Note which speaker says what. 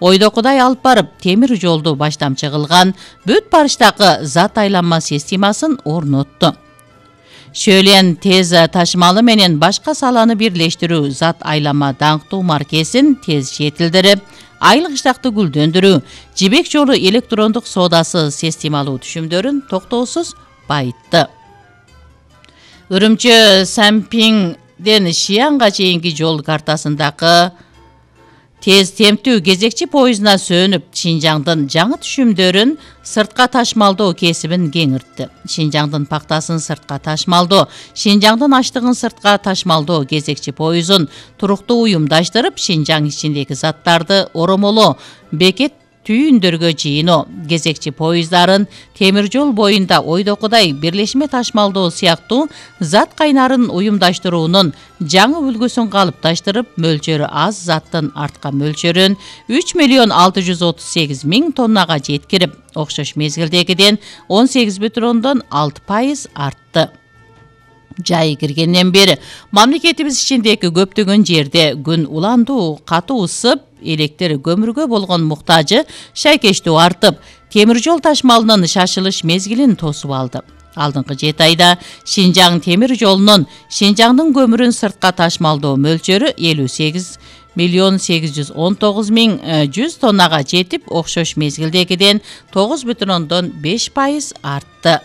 Speaker 1: ойдокудай алып барып темир жолду баштамчы кылган, бүт Париждагы зат айланма системасын орнотту. Шөлен тез ташымалы менен башка саланы бирлештирүү зат айланма даңктуу маркесин тез жетилдирип, айлык иштакты гүлдөндүрүү, жибек жолу электрондук соодасы системалуу түшүмдөрүн токтоосуз байытты. Үрүмчү Сампиңден Шиянга чейинки жол картасындагы тез темптүү кезекчи поездуна сөнүп, Шинжаңдын жаңы түшүмдөрүн сыртка ташмалдоо кесибин кеңиртти. Шинжаңдын пактасын сыртка ташмалдоо, Шинжаңдын аштыгын сыртка ташмалдоо кезекчи поездун туруктуу уюмдаштырып, Шинжаң ичиндеги заттарды оромолоо, бекет түйүндөргө жыйыноо, кезекчи поезддарын темир жол боюнда ойдокудай бирлешме ташмалдоо сыяктуу зат кайнарын уюмдаштыруунун жаңы үлгүсүн калыпташтырып, мөлчөрү аз заттын артка мөлчөрүн 3.638.000 тоннага жеткирип, окшош мезгилдегиден 18,6% артты. Жайы киргенден бери мамлекетибиз ичиндеги көптөгөн жерде күн уландуу, катуу ысып, электр көмүргө болгон муктажы шайкештүү артып, темир жол ташмалынын шашылыш мезгилин тосуп алды. Алдыңкы 7 айда Шинжаң темир жолунун Шинжаңдын көмүрүн сыртка ташмалдоо мөлчөрү 58.819.100 тоннага жетип, окшош мезгилдегиден 9,5% артты.